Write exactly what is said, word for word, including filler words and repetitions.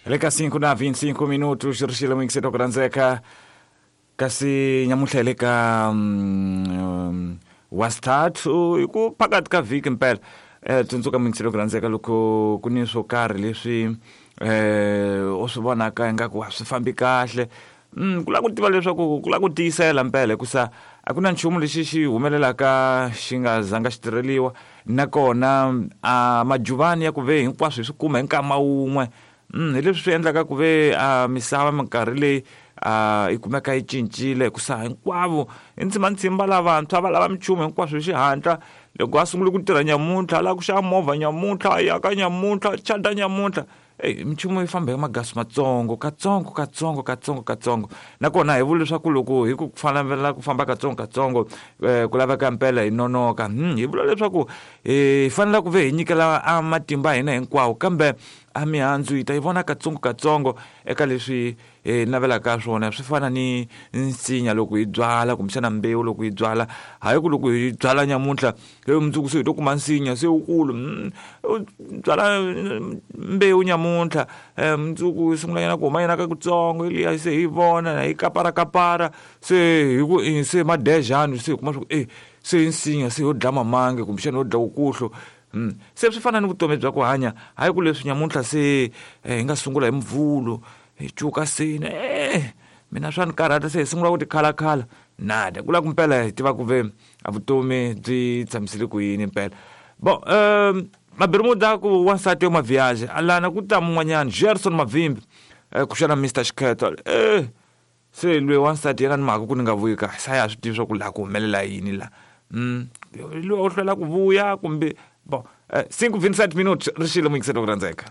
Le ka cinco na vinte e cinco minutos ri xile muyingiseri ku rhandzeka kasi nyamuntlha hi le ka um, wasithathu hi ku phakathi ka vhiki mpela eh tsundzuka muyingiseri ku rhandzeka loko ku ni swo karhi leswi eh u swi vonaka ingaku a swi fambi kahle mm ku lava ku tiva leswaku ku lava ku tiyisela mpela hikusa a ku na nchumu lexi xi humelelaka xi nga zanga xi tirheliwa nakona a majuvani ya ku ve hinkwaswo hi swi kuma hi nkama wun'we mm hi leswi swi endlaka ku ve a misava minkarhi leyi a yi kumeka yi cincile hikusa hinkwavo i ntsimandzimba lavantshwa va lava minchumu hinkwaswo hi xihatla loko a sungule ku tirha nyamuntlha a lava ku xava movha nyamuntlha a yaka nyamuntlha chata nyamuntlha eyi minchumu yi famba hi magasi matsongo katsongo katsongo katsongo katsongo nakona hi vula leswaku loko hi ku fanela ku famba katsongo katsongo um ku laveka mpela hi nonoka hmm hi vula leswaku hi fanele ku ve hi nyikela a matimba hina hinkwawo kambe a mihandzu yi ta yi vona katsongo katsongo eka leswi hi navelaka swona swi fana ni nsinya loko hi byala kumbexana mbewu loko hi byala hayi ku loko hi byala nyamuntlha he mundzuku se hi to kuma nsinya se wukulu u byala mbewu nyamuntlha mundzuku yi sungula nyana ku huma nyana ka kutsongo liya se hi vona hi kapara kapara se hi ku se madejani se hi kuma swa ku e se i nsinya se yo dlaya mamange kumbexana yo dlaya wukuhlo Mm. Se swi fana ni vutomi bya ku hanya hayi ku leswi nyamuntlha se hi nga sungula hi mvhulo hi cuka seni eh mina swa ni karhata se hi sungula ku tikhalakhala nada ku lava ku mpela hi tiva ku ve a vutomi byi tshamisile ku yini mpela bon um mabirimuda ku wansati yo maviage alana ku ta mun'wanyana Gerson Mavimbi eh, ku xana Mister Xikhetho eh se loyi wansati yena ni mhaka ku ni nga vuyi kahle sa ya swi tivi swa ku laha ku humelela yini la mm loyi u hlwela ku vuya kumbe bon, cinco vinte e sete minutos, ri xile muyingiseri ku rhandzeka.